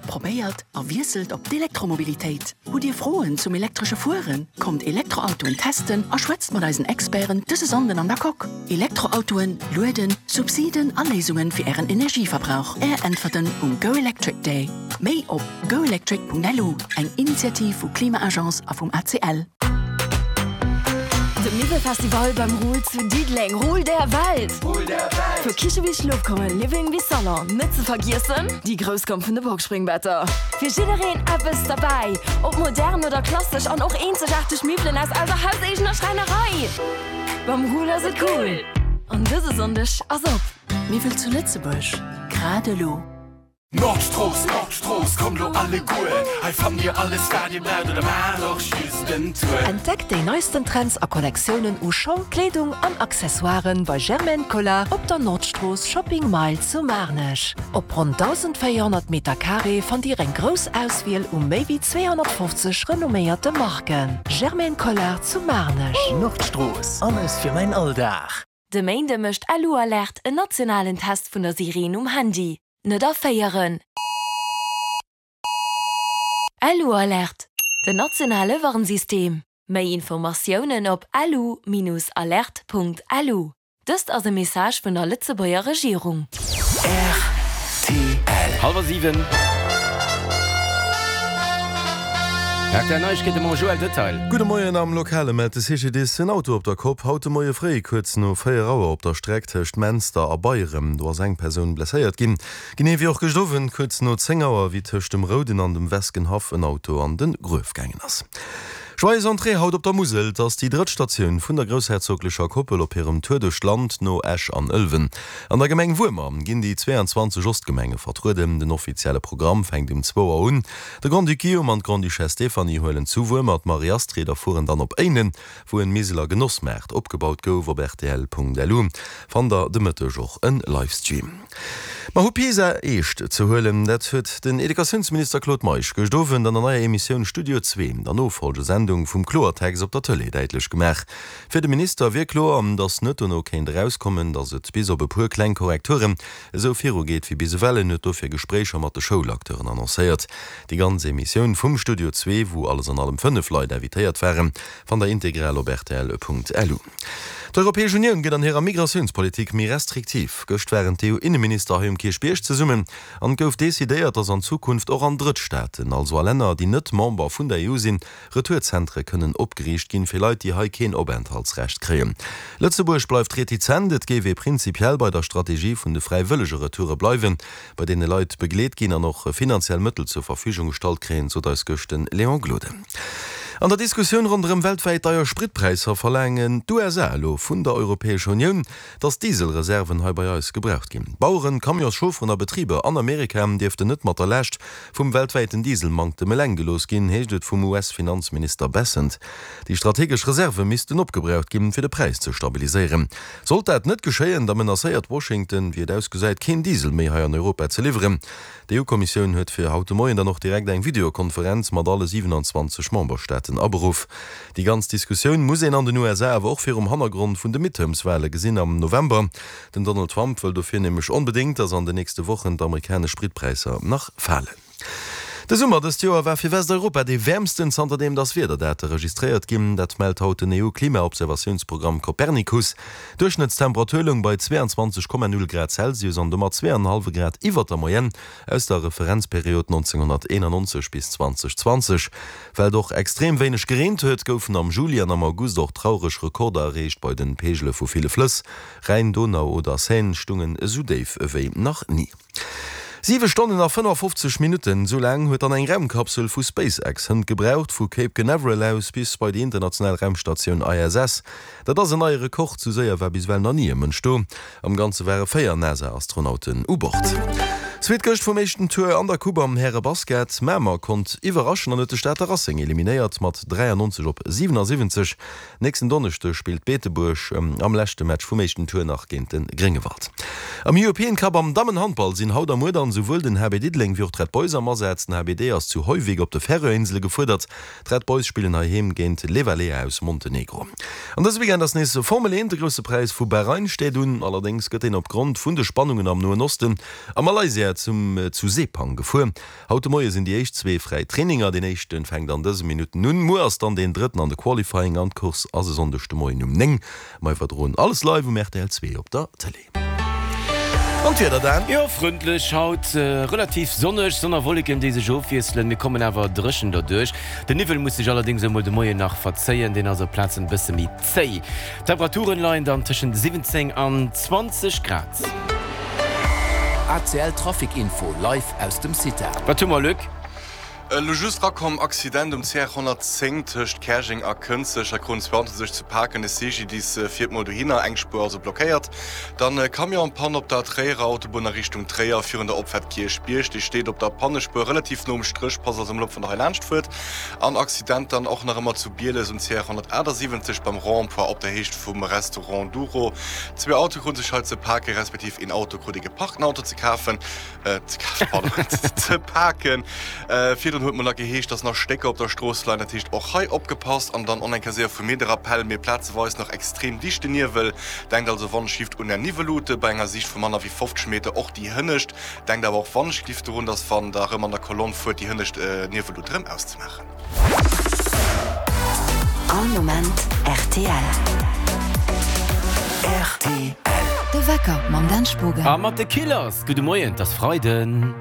Probéiert a wiesselt op d'Elektromobilitéit. Hutt Dir Froen zum elektresche Fueren? Kommt Elektroautoen testen a schwätzt mat eisen Experten dëse Sonnden an der Coque. Elektroautoen, Lueden, Subsiden a Léisungen fir Ären Energieverbrauch. Är Äntwerten um Go Electric Day. Méi op goelectric.lu, eng Initiativ vu Klima-Agence a vum ACL. De Miwwelfestival beim Ruhl zu Diddeleng, Ruhl der Welt! Vu Kiche bis Schlofkummer, Living bis Salon, net ze vergiessen déi grouss Gamm vun de Boxspringbetter. Fir jiddereen eppes derbäi, ob modern oder klassesch an och eenzegaarteg Miwwelen aus eiser hauseegener Schräinerei. Beim Ruhl ass et cool an dëse Sonndeg ass op. Miwwel zu Lëtzebuerg, grad elo. Nordstrooss, Nordstrooss, kommt lo alleguer, hei fannt dir alles wat dir braucht oder maacht och just en Tour. Entdeckt déi neisten Trends a Kollektiounen u Schong, Kleedung an Accessoiren bei Germaine Collard op der Nordstrooss Shopping Mile zu Maarnech. Op ronn 1.400 Meter Carré fannt Dir eng grouss Auswiel u méi wéi 250 renomméierte Marken. Germaine Collard zu Maarnech. Nordstrooss, alles fir mäin Alldag. De Méinde mécht LU-Alerte en nationalen Test vun der Sireen um Handy. Net erféieren! LU-Alerte, den nationale Warnsystem. Méi Informatiounen op lu-alerte.lu. Dëst ass e Message vun der Lëtzebuerger Regierung. Rtl. Hallwer 7. Rtl Neiegkeete mam Joël Detail. Gudde Moien, Am Lokale mellt de CGDIS en Auto op der Kopp haut de Moie fréi kuerz no 4 Auer op der Streck tëscht Menster a Beyerem. Do ass eng Persoun blesséiert ginn. Genee wéi och gëscht Owend kuerz no 10 Auer, wéi tëscht dem Rouden an dem Weskenhaff en Auto an de Gruef gaangen ass. Joyeuse Entrée haut op der Musel, 't ass déi drëtt Statioun vun der groussherzoglecher Koppel op hirem Tour duerch d'Land no Esch an Ëlwen. An der Gemeng Wuermer ginn déi 22 Ostgemenge vertrueden. Den offizielle Programm fänkt um zwou Auer un. De Grand-Duc Guillaume an d'Grande-Duchesse Stéphanie huelen zu Wuermer d'Marie-Astrid a fueren dann op Éinen, wou en Miseler Genossmaart opgebaut gouf. Op rtl.lu fannt der de Mëtteg och en Livestream. Mer hu PISA eescht ze huelen, dat huet den Educatiounsminister Claude Meisch gëscht Owend an der neier Emissioun Studio Zwee, der Nofolgesendung vum Kloertext op der Tëlee, däitlech gemaach. Fir de Minister wier kloer, datt net dono kéint erauskommen, datt et bis op e puer kleng Korrekturen esou viru geet wéi bis ewell. En huet dofir Gespréicher mat de Schoulacteuren annoncéiert. Déi ganz Emissioun vum Studio Zwee, wou alles an allem 5 Leit invitéiert waren, fannt der integral op rtl.lu. D'Europäesch Unioun gëtt an hirer Migratiounspolitik méi restriktiv. Gëscht waren d'EU-Inneminister hei um Kierchbierg zesummen an et gouf decidéiert, datt an Zukunft och an Drëttstaaten, also a Länner, déi net Member vun der EU sinn, Retourzentре kënnen opgeriicht ginn, fir Leit, déi hei keen Openthaltsrecht kréien. Lëtzebuerg bleift retizent, et géif ee prinzipiell bei der Strategie vun de fräiwëllege Retoure bleiwen, bei deene Leit begleet ginn an och finanziell Mëttel zur Verfügung gestallt kréien, sot eis gëscht de Léon Gloden. An der Diskussioun ronderëm weltwäit deier Spritpräisser verlaangen d'USA elo vun der Europäescher Unioun, dass Dieselreserven hei bei eis gebraucht ginn. Baueren, Camionschaufferen a Betriber an Amerika dierften net mat der Laascht vum weltwäiten Dieselmanktem eleng gelooss ginn, heescht et vum US-Finanzminister Bessent. Déi strategesch Reserve missten opgebraucht ginn, fir de Präis ze stabiliséieren. Sollt dat net geschéien, da menacéiert Washington, wéi et ausgesäit, keen Diesel méi hei an Europa ze liwweren. D'EU-Kommissioun huet fir haut de Moien dann och direkt eng Videokonferenz mat alle 27 Memberstaaten aberuff. Déi ganz Diskussioun muss een an den USA awer och virum Hannergrond vun de Midterms-Wale gesinn am November. Den Donald Trump wëll dofir nämlech onbedéngt, datt an den nächste Wochen d'amerikanesch Spritpräisser nach falen. De Summer dëst Joer war fir Westeuropa dee wäermsten, zanterdeem datt Wiederdate registréiert ginn. Dat mellt haut den EU-Klimaobservatiounsprogramm Copernicus. D'Duerchschnëttstemperatur loung bei 22,0 Grad Celsius an domat 2,5 Grad iwwer der Moyenne aus der Referenzperiod 1991 bis 2020. Well et och extrem wéineg gereent huet, goufen am Juli an am August och traureg Rekorder erreecht bei de Peegele vu ville Flëss. Rhäin, Donau oder Seine stungen esou déif ewéi nach ni. 7 Stonnen a 55 Minutten, esou laang huet dann eng Raumkapsel vu SpaceX hënt gebraucht, vu Cape Canaveral aus bis bei déi international Raumstatioun ISS. Dat ass en neie Rekord, sou séier war bis ewell nach ni e Mënsch do. Am Ganze ware 4 NASA-Astronauten u Bord. Zweet Gëscht vum éischten Tour an der Coupe am Härebasket. Mamer konnt iwwerraschen an huet de Stater Racing eliminéiert mat 93 op 77. Nächsten Donneschdeg spillt Beetebuerg am leschte Match vum éischten Tour nach géint de Gréngewald. Am European Cup am Dammenhandball sinn haut a muer dann souwuel den HB Diddeleng wéi och d'Red Boys am Asaz. Den HBD ass zu Hoyvík op de Färöerinsele gefuerdert. D'Red Boys spillen heiheem géint Levalea aus Montenegro. An dëse Weekend ass nees Formel 1, de grousse Präis vu Bahrain steet un. Allerdéngs gëtt deen opgrond vun de Spannungen am Noen Osten a Malaysia. zum zu Sepang gefuer. Haut de Moie sinn déi éischt zwee fräi Traininger. Deen éischte fänkt an dëse Minutten un. Muer ass dann deen drëtten an de Qualifying an d'Course ass e Sonndeg de Moien um 9. Mer iwwerdroen alles live um rtl 2 op der Tëlee. An d'Wieder dan? Jo, frëndlech haut, relativ sonneg, Sonn a Wolleken déi sech ofwiesselen. Mir kommen awer dréchen derduerch. De Niwwel muss sech allerdéngs emol de Moien nach verzéien, deen ass op Plazen e bësse méi zéi. D'Temperaturen leien dann tëschent 17 an 20 Grad. ACL Trafic Info live aus dem CITA. Wat hu mer, Luc? Elo just rakomm, Accident um CR 110 tëscht Käerjeng a Kënzeg. Hei kruten zwou Autoen sech ze paken. De CGDIS fiert mol dohinner, eng Spuer also blockéiert. Dann Camion en panne op der Tréierer Autobunn a Richtung Tréier virun der Opfaart Kierchbierg. Dee steet op der Pannespuer relativ no um Stréch, passt also mol op wann der hei laanscht fuert. An Accident dann och nach ëmmer zu Bieles um CR 178 beim Rond-point op der Héicht vum Restaurant Douro. Zwee Autoe kruten sech hei ze paken, respektiv een Auto krut ee geparkten Auto ze kafen. ze kafen, pardon, ze paken. Virdrun huet mol nach geheescht, dass nach Stécker op der Strooss leien, dat heescht och hei opgepasst. An dann on eng Kéier séier vu mir de Rappell, mir plazeweis nach extrem dichte Niewel. Denkt also wannschlift un är Niwwelute bei enger Siicht vu manner wéi 50 Meter, och déi hënnescht. Denkt awer och wannschlift dorun, dass wann der erëm an der Kolonn fuert, déi hënnescht Niwwellut erëm auszemaachen. All Moment rtl. Rtl. De Wecker mam Dan Spogen. A mat de Killers. Gudde Moien, 't ass Freiden.